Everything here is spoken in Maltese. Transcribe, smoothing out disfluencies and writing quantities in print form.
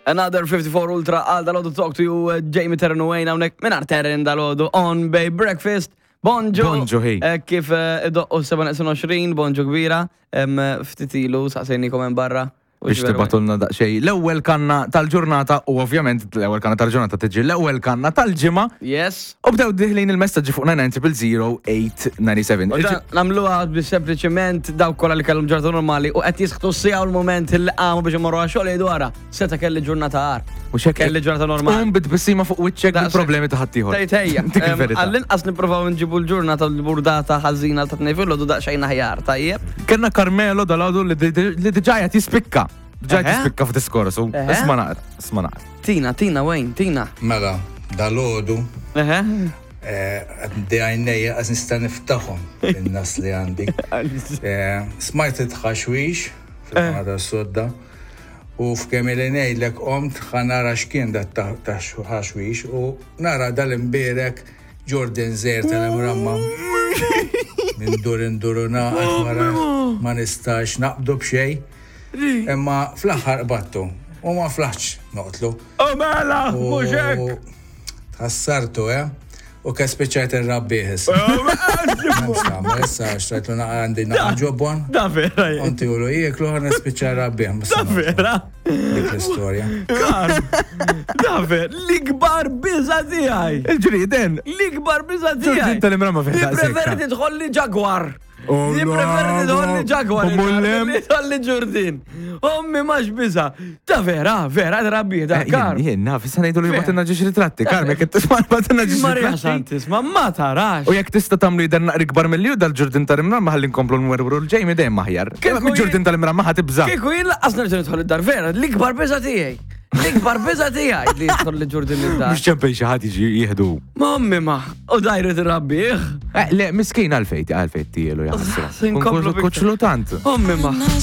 Another 54 Ultra għal dal-ħodu talk to you, uh, Jamie Terren u Wayne hawnhekk mingħajr Terren dal-ħodu on Bay Breakfast. Bonġu. Bonġu, ħi. Eh, Kif eh, idoqqu 7.20, bonġu kbira. Em, Ftit ilu saqsejnikom hemm barra. U Biex ġveru- tibatulna daqsxejn l-ewwel kanna tal-ġurnata u ovvjament l-ewwel kanna tal-ġurnata tiġi l-ewwel kanna tal-ġimgħa. Yes. U bdew diħlin il-messaġġi fuq 9000897. U dan Namluha biex sempliċiment dawk kollha li kellhom ġurnata normali u qed jisħtu s-sija u l-moment li qamu biex imorru għax-xogħol jgħidu ara, seta' kelli ġurnata agħar. U xek Kelli ġurnata normali. Tqum bit-tbissima fuq wiċċek Daqshekk. bil-problemi ta' ħaddieħor. Tgħid ejja. Dik il-verità. Għall-inqas nippruvaw nġibu l-ġurnata l-burdata ħażina ta' tnejn filgħodu daqsxejn aħjar, tajjeb? Kellna Carmelo dal-għodu li li diġà qed jispikka. Diġà qed Eħe. jispikka f'diskorsu. Eħe. Isma' naqra, isma' naqra. Tina, Tina, Wayne, Tina. Mela, dal-ħodu, Eħe. għandi għajnejja għaz nista niftaħom in-nas li għandi. Eh, Smajt it-ħaxwix fil-kamra tas-sodda u f'kemm ili ngħidlek qomt ħa nara x'kien dat ta' ta' ħaxwix u nara dal-imbierek Jordan Zer tal-imramma. Minn dur indur u naqgħod wara ma nistax naqbdu b'xejn. Imma fl-aħħar qbadtu u ma flaħtx noqtlu. U mela, mhux hekk. Tħassartu, eh? U ke spiċċajt irrabbih issa. M'hemmx nagħmel issa xtrajtlu naqa għandi naqa ġobon. Da vera. Unti ulu jieklu ħa nispiċċa rrabbih. Da vera. Dik l-istorja. Karm. Da vera. L-ikbar biża tiegħi. Il-ġrieden. L-ikbar biża tiegħi. Ġurdin tal-imrama fih daqshekk. Nippreferi tidħol li ġagwar. Oh, Nippreferi tidħol li ġagwar. Mullem. Tidħol li ġurdin. Ommi max biża. Ta' vera, vera, drabbih da' Eh, kar. Jien, naf, issa ngħidu li batinna ġiex ritratti. Karm, jekk tisma' batinna ġiex Maria ritratti. Santis, ma ma tarax. U jekk tista' tagħmlu jidher naqri kbar mill dal-ġurdin tal-imramma ħalli nkomplu nwerwru l-ġejmi dejjem aħjar. Kieku Ġurdin tal-imramma ħa tibża'. Kieku jien laqqas nerġa' nidħol id-dar vera, l-ikbar biża tiegħi. L-ikbar biża tiegħi li jidħol li ġurdin id-dar. Mhux ċempel xi ħadd jiġi jieħdu. Mommi ma, u dajru tirrabbih. Eh, le, miskin għalfejn, għalfejn tielu jaħsra. Sinkomplu Kuċlu tant. Ommi ma. Nice to